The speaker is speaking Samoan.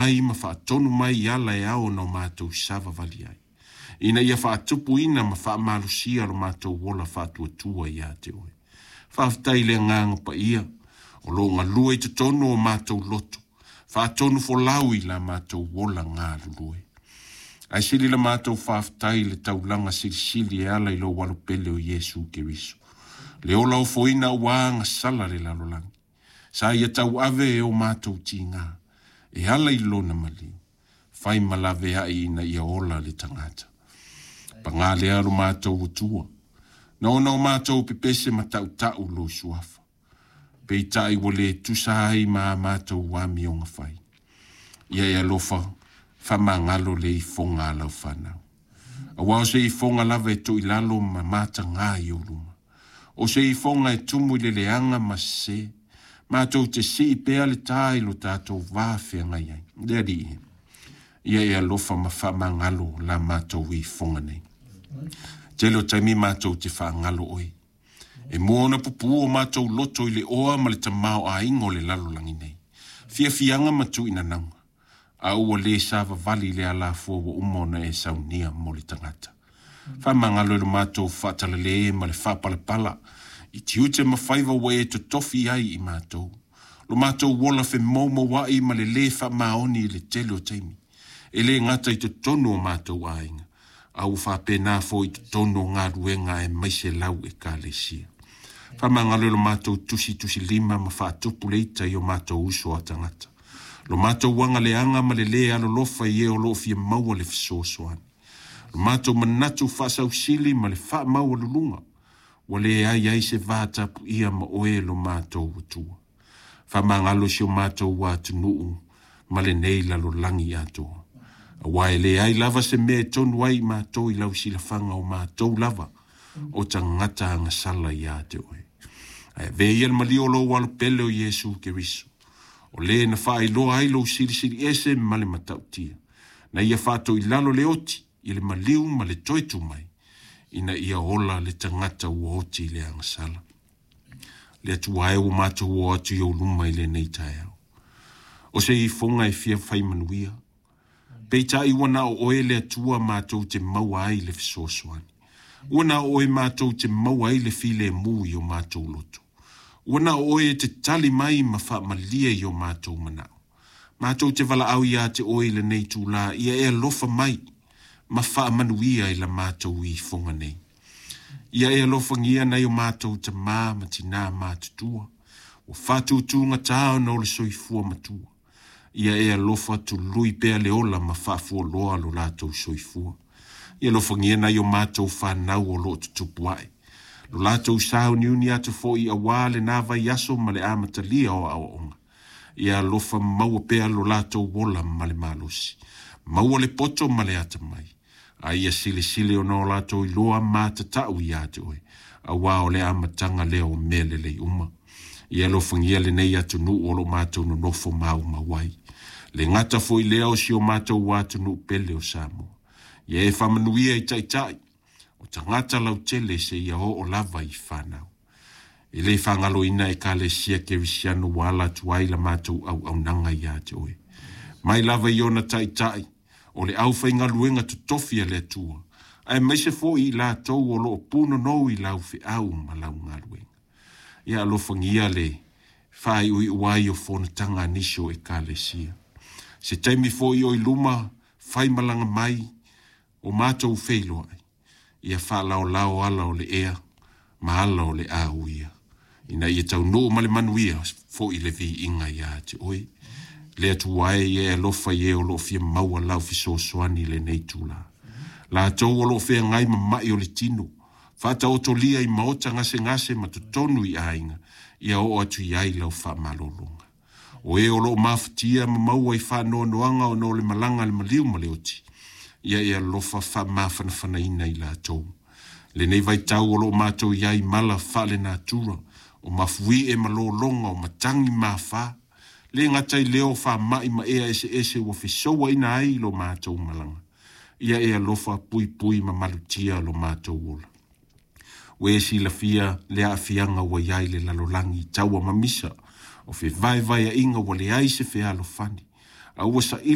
Mai ma faatonu mai i ala e ao ona o matou savavali ai, ina ia faatupuina ma faamalosia lo matou ola faatuatua ia te oe. Faafetai i le Agaga Paia o lo o galue i totonu o matou loto, faatonufolau i la matou ola galulue. Ae sili la matou faafetai i le taulaga silisili e ala i lou alo pele o Iesu Keriso, le ola ofoina aua agasala a le lalolagi. Sa ia tauave e o matou tiga e ala i lona maliu, fai ma laveai ina ia ola le tagata. Paga lea lo matou Atua, na ona o matou pepese ma tautau lou suafa, peitai ua le tusa ai ma a matou amioga fai. Ia e alofa, faamagalo le ifoga a lau fanau. Aua o se ifoga lava e toilalo ma mataga i ou luma. O se ifoga e tumu i le leaga ma sese, matou te sii pea le tā i lo tatou va feagai ai. Le Alii, ia e alofa ma faamagalo la matou ifoga nei. Tele o taimi matou te faagalo oe. E mua ona pupū o matou loto i le oa ma le tamaoaiga o le lalolagi nei, fiafiaga ma tuuinanauga, a ua le savavali i le alafua ua uma ona e saunia mo le tagata. Faamagalo i lo matou faatalale ma le faapalapala i tiute ma faiva ua e totofi ai i matou, lo matou ola femoumouai ma le lē faamaoni i le tele o taimi, e le gata i totonu o matou aiga, a ua faapena foi i totonu o galuega aemaise lau Ekalesia. Faamagalo i lo matou tusitusilima ma faatupu le ita i o matou uso a tagata, lo matou agaleaga ma le lē alolofa i e o lo o fia maua le fesoasoani, lo matou manatu faasausili ma le faamaualuluga, ua leai ai se va tapuia ma oe lo matou Atua. Faamagalo si o matou atunuu ma lenei lalolagi atoa, aua e leai lava se mea e tonu ai i matou i lau silafaga o matou lava o tagata agasala ia te oe. Ae avea ia le maliu o lou alo pele o Iesu Keriso, o le na faailoa ai lou silisili ese ma le matautia, na ia faatoilalo le oti i le maliu ma le toe tu mai, ina ia ola le tagata ua oti i le agasala. Le Atua e, ua matou o atu i ou luma i lenei taeao. O se ifoga e fia fai manuia, peitai ua na o oe le Atua matou te maua ai le fesoasoani. Ua na o oe matou te maua ai le filemu i o matou loto. Ua na o oe e te tali mai ma faamalie i o matou manao. Matou te valaau ia te oe i lenei itula, ia e alofa mai ma faamanuia i la matou ifoga nei. Ia e alofagia nai o matou tamā ma tinā matutua, ua faatutugata ona o le soifua matua. Ia e alofa tului pea le ola ma faafualoa lo latou soifua. Ia alofagia nai o matou fanau o lo o tutupu ae, lo latou sauniuni atu foi aua lena vaiaso ma le amatalia o aoaoga. Ia alofa maua pea lo latou ola ma le malosi, maua le poto ma le atamai, a ia silisili ona o latou iloa matatau ia te oe, aua o le amataga lea o mea lelei uma. Ia alofagia lenei atunuu o lo o matou nonofo maumau ai, le gata foi lea o si o matou atunuu pele o Samoa. Ia e faamanuia i taitai o tagata lautele seia oo lava i fanau. E le faagaloina Ekalesia Kerisiano ua ala atu ai la matou auaunaga ia te oe. Mai lava i ona taitai o le aufaigaluega totofi a le Atua, aemaise foi i latou o lo o punonou i lau feau ma lau galuega. Ia alofagia le faaiuiu ai o fonotaga a nisi o Ekalesia. Se taimi foi o i luma faimalaga mai o matou feiloai, ia faalaolao ala o le ea ma ala o le auia, ina ia taunuu ma le manuia foi le viiga ia te oe. Le Atua e, ia e alofa i e o lo o fia maua lau fesoasoani i lenei itula. Latou o lo o feagai ma mai o le tino, faataotolia i maota gasegase ma totonu i aiga, ia oo atu i ai lau faamalologa. O e o lo o mafatia ma maua i faanoanoaga ona o le malaga a le maliu ma le oti, ia e alofa faamafanafanaina i latou. Lenei vaitau o lo o matou i ai i mala faalenatura, o mafuie ma lologa, o matagi ma afa, le gata i lea o faamai ma ea eseese ua fesouaina ai lo matou malaga, ia e alofa puipui ma malutia lo matou ola. Ua e silafia le aafiaga ua i ai le lalolagi i taua mamisa, o fevaevaeaiga ua leai se fealofani, a ua saili